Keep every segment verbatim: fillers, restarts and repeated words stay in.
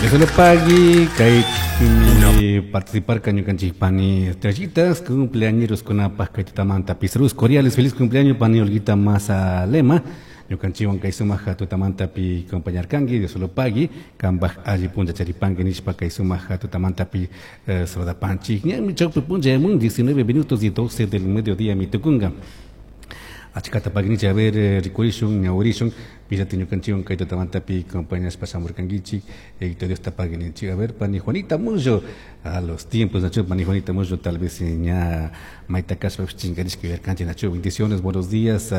Dios pagui kay participar ñukanchik pani estrellitas cumpleañeros kunapaj kay tutamanta saludos cordiales. Feliz cumpleaños, pani Olguita Maza Lema. Ñukanchikwan kay sumaq tutamantapi acompañarkanki. Dios lo pagui, kambaj alli puncha charipanki nishpa kay sumaq tutamantapi eh, saludapanchik. Ñami chawpi puncha mun, diecinueve minutos y doce del mediodía mi tukunga. Achkata pagnichi. A ver, eh, rikurishun, ñawirishun pillati ñukanchikwan kay tutamantapi acompañashpa shamurkankichik. eh, Dios ta pagui. A ver, pani Juanita Mullo, a los tiempos nachu. Pani Juanita Mullo tal vez ña mayta kashpa chinkarishka yuyarkanchik nachu. Bendiciones, buenos días,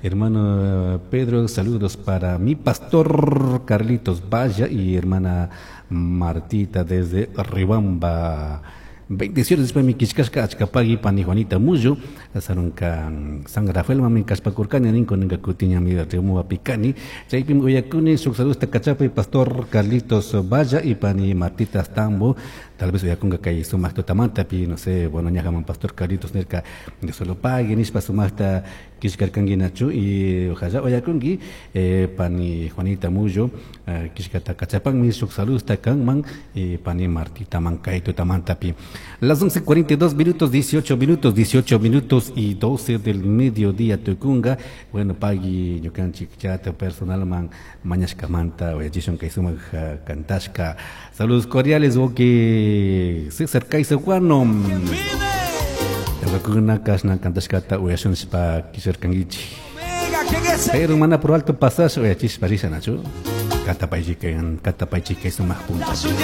hermano Pedro, saludos para mi pastor Carlitos Valla y hermana Martita desde Riobamba. Bendiciones. Después mi kishkashka. Achkapagui, pani Juanita Mullo. Sarunka San Rafael mami kashpakurkani nin, kunanka kutiñami Riobambapi kani, chaypimi uyakuni. Shuk saludos kachapay pastor Carlitos Valla y pani Martita Stambo. Tal vez uyakunga kay sumaq tutamantapi, no sé. Bueno, ñajaman pastor Carlitos nirka Dios lo pague nishpa sumaqta kishkarkanki nachu. Y ojalá uyakunki, eh, pani Juanita Mullo eh, kishkata kachapanmi. Shuk saludos kanman y pani Martita man kay tutamantapi. Las once cuarenta y dos minutos, dieciocho minutos, dieciocho minutos y doce del mediodía tukunga. Bueno, pagui ñukanchik chata personal man mañashkamanta uyachishun kay sumaq kantashka. Saludos cordiales, wawki César Kaisaguano. Tawakuna kashna kantashkata uyashun nishpa kishirkankichik. Pero mana por alto pasar uyachishpa risha nachu. Katapaychik, katapaychik kay sumaq puncha.